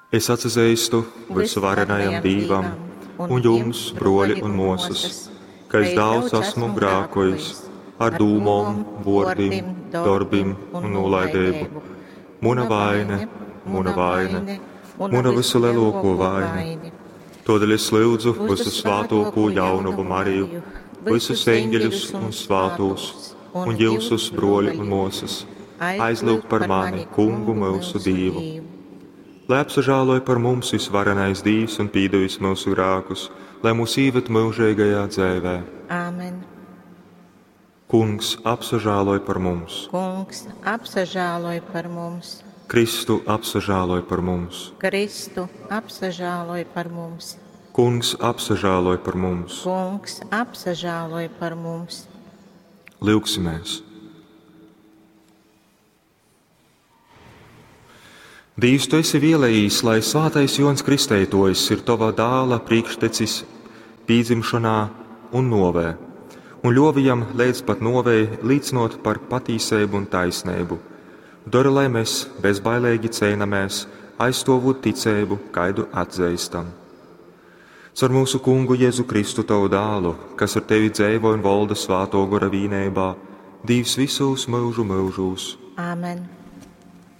Es atsazeistu vysuvarenajam Dīvam un jums, broļi un muosys, ka es daudz esmu grākojis ar dūmom, vuordim, dorbim un nūlaideibu. Muna vaine, muna vaine, muna vysuleluokuo vaine. Todēļ es lyudzu vysu svātōkū jaunavu Mariju, vysus eņģeļus un svātūs, un jyusus, broļi un muosys, aizlyugt par mani, Kungu myusu Dīvu. Lai apsažāloj par mums visvarenais Dīvs un pīdevis myusu grākus, lai mūs īved myužeigajā dzeivē. Āmen. Kungs, apsažāloj par mums! Kungs, apsažāloj par mums! Kristu, apsažāloj par mums! Kristu, apsažāloj par mums! Kungs, apsažāloj par mums! Kungs, apsažāloj par mums! Lyugsimies! Dīvs, tu esi vēlējis, lai svētais Jōns Kristeitojs ir tava dāla priekštecis pīdzimšanā un novē, un ļovi jam līdz pat novei līcinot par patīseibu un taisneibu. Dori, lai mēs bezbailīgi cēnamēs, aizstovot ticēbu, kaidu atzīstam. Caur mūsu kungu Jēzu Kristu tavu dālu, kas ar tevi dzeivo un volda svāto gora vīneibā, Dīvs visos mūžu mūžos. Āmen.